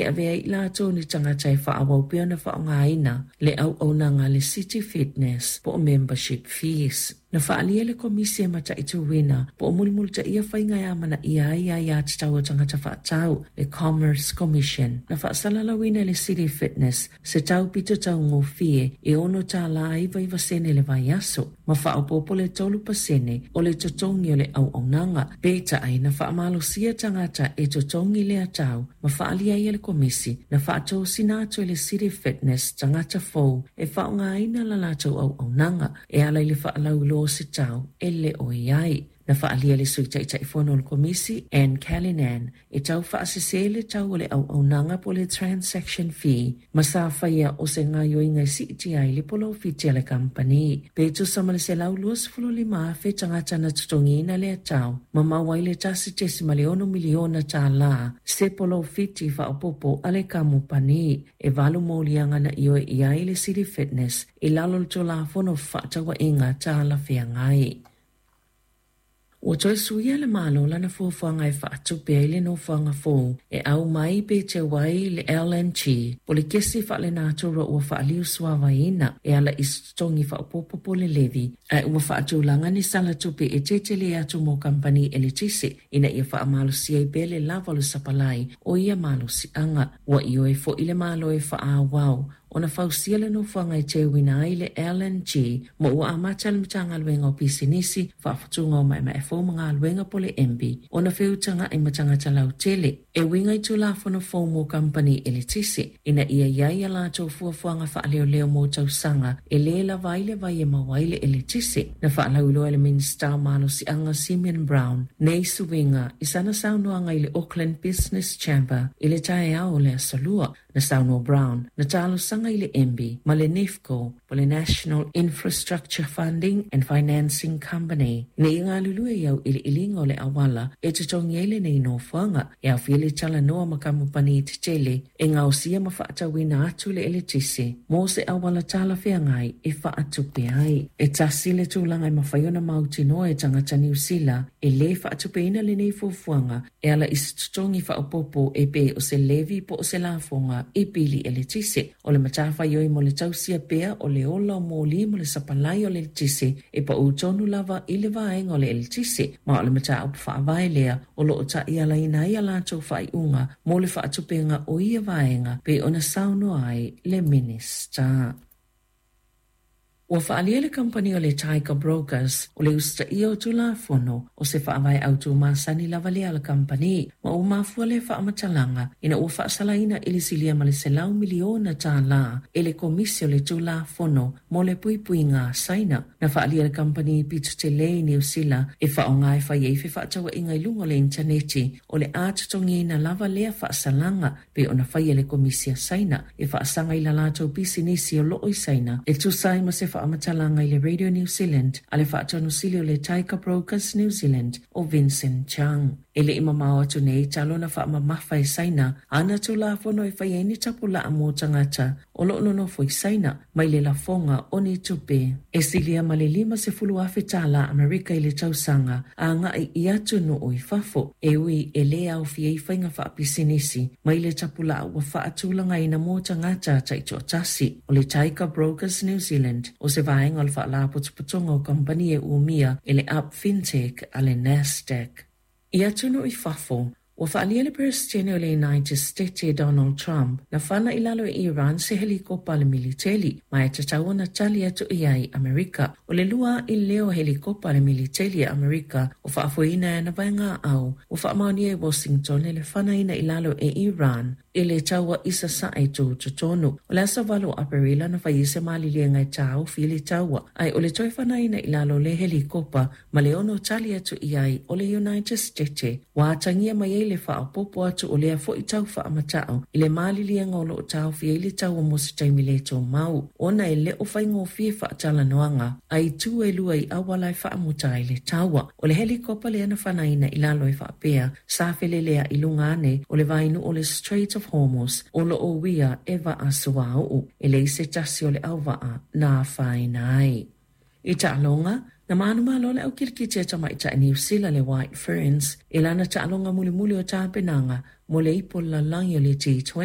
E avea ai i latou ni tagata e faaauau pea ona faaaogaina le auaunaga a le City Fitness po o membership fees. Na faaalia e le Komisi e mataituina po o mulimulitaia faiga e amanaia ai aiatatau a tagata faatau, le Commerce Commission. Na faasalalauina e le City Fitness se tau pito taugofie e $6.99 le vaiaso, ma faaopoopo le 3% o le totogi o le auaunaga. Peitai, na faamalosia tagata e totogi lea tau ma faaalia ai e le Komisi na faatosina atu e le City Fitness tagata fou e faaaogaina la latou auaunaga e ala i le faalauiloa o se tau e le o i ai. Na faaalia e le Sui Taitaifono o le Komisi, Anne Callinan, e tau faasese le tau o le auaunaga po o le transaction fee ma sa faia o se gaoioiga e siitia ai le polofiti a le kamupani. Pe tusa ma le 125,000 tagata na totogiina lea tau ma maua ai le $1.6 miliona se polofiti faaopoopo a le kamupani. E valu moliaga na ioe i ai le City Fitness i lalo o le Tulafono o Fefaatauaiga Talafeagai. Ua toe suia le Malo lana fuafuaga e faatupe ai le nofoaga fou e au mai pe teu ai le LNG, po o le kesi faalenatura ua faaliu suavaiina e ala i se totogi faaopoopo po o le levy, ae ua faatulaga ni sala tupe e tetele atu mo kamupani eletise ina ia faamalosia ai pea le lava o le sapalai o ia malosiaga. Ua ioe foi le Malo e faaauau ona fausia le nofoaga e teuina ai le LNG ma ua amata le Matagaluega o Pisinisi, Faafutuga o Maemae Fou ma Galuega po o le MB ona feutaga'i ma tagata lautele e uiga i Tulafono fou mo kamupani eletise ina ia i ai a latou fuafuaga faaleoleo mo tausaga e lē lava ai le vai e maua ai le eletise. Na faalauiloa e le Minisita o Malosiaga Simeon Brown nei suiga i sana saunoaga i le Auckland Business Chamber i le taeao o le Aso Lua. Na saunoa Brown, na talosaga i le MB ma le NIFCO po o le National Infrastructure Funding and Financing Company ina ia galulue i auiliiliga o le auala e totogi ai lenei nofoaga e aofia le talanoa ma kamupani tetele e gaosia ma faatauina atu le eletise mo se auala talafeagai e faatupe ai. E tasi le tulaga e mafai ona mautinoa e tagata Niu Sila e lē faatupeina lenei fuafuaga e ala i se totogi faaopoopo e pei o se levy po o se lafoga i pili eletise. O le matafaioi mo le tausia pea o le ola o moli mo le sapalai o le eletise e pau tonu lava i le vaega o le eletise, ma o le mataupu faavae lea o lo o taialaina ai a latou faaiuga mo le faatupega o ia vaega pei ona saunoa ai le Minisita. Ua faaalia le kamupani o le Tiger Brokers o le usitaia o Tulafono o se faavae autu masani lava lea a le kamupani, ma ua mafua lea faamatalaga ina ua faasalaina i le silia ma le $100 miliona e le Komisi o le Tulafono mo le Puipuiga a Saina. Na faaalia e le kamupani pito tele i Niu Sila e faaaoga e fai ai fefaatauaiga i luga o le initaneti o le a totogiina lava lea faasalaga pei ona faia e le Komisi a Saina e faasaga i la latou pisinisi o loo i Saina, e tusa ai ma se faamatalaga i le Radio New Zealand a le Faatonusili o le Tiger Brokers New Zealand o Vincent Chang. E le i mamao atu nei talu ona faamamafa e Saina ana Tulafono e fai ai ni tapulaa mo tagata o lo o nonofo i Saina mai le lafoga o ni tupe e silia ma le $50,000 Amerika i le tausaga agai i atunuu i fafo, e ui e lē aofia ai faiga faapisinisi mai le tapulaa ua faatulagaina mo tagata taitoatasi. O le Tiger Brokers New Zealand o se vaega o le Faalapotopotoga o Kamupani e Umia e le Up Fintech a le Nasdaq. I atunuu i fafo, ua faaalia e le Peresetene o le United Stete Donald Trump na fana i lalo e Iran se helikopa a le militeli, ma e tatau ona tali atu i ai Amerika. O le lua a'i lea o helikopa a le militeli a Amerika o faafoeina e ana vaegaaau ua faamaonia e Washington le fanaina i lalo e Iran i le taua i sasae tutotonu. O le aso 8 o Aperila na fai ai se maliliega e taofi i le taua, ae o le toe fanaina i lalo o le helikopa ma le ono tali atu i ai o le United Stete ua atagia mai ai le faaopoopo atu o lea foi tau faamata'u i le maliliega o lo o taofi ai le taua mo se taimi le tumau ona e le o faigofie faatalanoaga a itu e lua i auala e faamuta ai le taua. O le helikopa lea na fanaina i lalo e faapea sa felelea'i i luga ane o le vainuu o le Strait of Hormuz o lo o uia e vaa suauu. E leai se tasi o le auvaa na afaina ai. I taaloga, Na manumalo le au kilikiti a tamaitai Niu Sila le White Ferns i lana taaloga mulimuli o tapenaga mo le Ipu o le Lalolagi o le T20.